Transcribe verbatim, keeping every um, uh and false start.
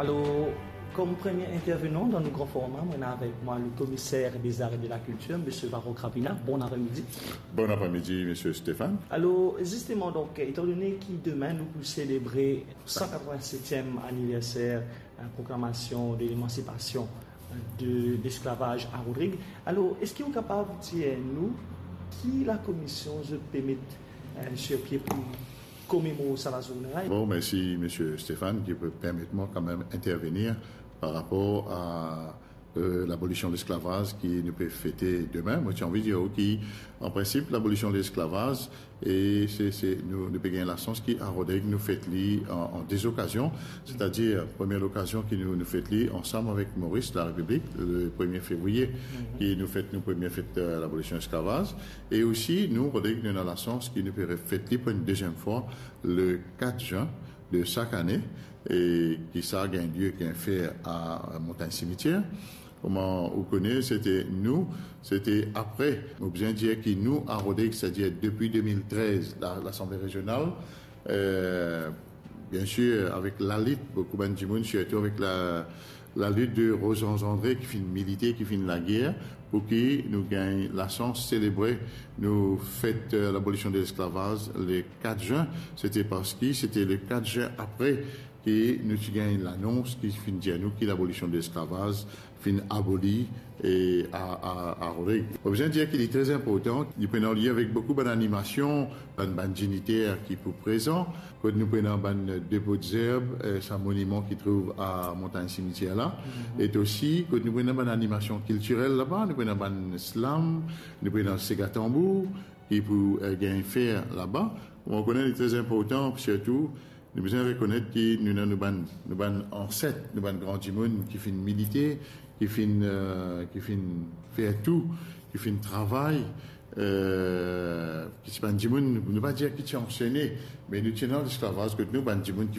Alor, kom premie intervenan dan nou gran forma, mo ena avek mwa le komiser dezar e de la kiltir, misie Varro Krapina. Bon apremidi. Bon apremidi, misie Stéphane. Alor, zisteman, donk, etandone ki demin nou pou selebre san katrevinsetiem aniverser, eh, proklamasion de lemansipasion, eh, de lesklavaz a Rodrig, alor, eski ou kapav dir nou ki lakomision zot pe met, eh, sir pie pou komemor sa lazourne la? Bon, mersi, misie Stéphane, ki pe permet mwa kanmem intervenir par rapor a, eh, labolision lesklavaz ki nou pe fete demin. Mo ti anvi dir ki, an prinsip, labolision lesklavaz, e se, se, nou, nou pe gagn lasans ki a Rodrig nou fet li an, an de okazion, setadir, premie lokazion ki nou, nou fet li ansam avek Moris Larepiblik, le premie fevriye, ki nou fet nou premie fet, eh, labolision lesklavaz. E osi, nou, Rodrig, nou ena lasans ki nou pe refet li pou enn deziem fwa le kat zin de sak ane, e ki sa gagn lie, gagn fer a Montagn Simitier. Kouma ou kone, sete nou, sete apre, mo bizin dir ki nou, a Rodrig, setadir depi de mil trez, la, Lasanble Rezional, eh, biensir, avek lalit, boukou bann dimoun, sirtou avek la, lalit de Rosange André ki finn milite, ki finn lager, pou ki nou gagn lasans selebre nou fet, eh, labolision de lesklavaz le kat zin. Sete parski sete le kat zin apre ki nou ti gagn lanons ki finn dir nou ki labolision de lesklavaz finn aboli, e a, a, a Rodrig. Mo bizin dir ki li tre inportan, li pe ena lie avek boukou bann animasion, bann, bann digniter ki pou prezan, kot nou pe ena bann depo de zerb, eh, sa moniman ki trouv a Montagn Simitier la, e osi kot nou pe ena bann animasion kiltirel laba, nou pe ena bann slam, nou pe ena sega tanbour, ki pou, eh, gagn fer laba. Mo kone li tre inportan, sirtou, nou bizin rekonet ki nou ena nou bann, nou bann anset, nou bann gran dimoun ki finn milite, ki finn, eh, ki finn fer tou, ki finn travay, eh, ki ti bann dimoun, nou pa dir ki ti ansene, me nou ti ena lesklavaz kot nou, bann dimoun ki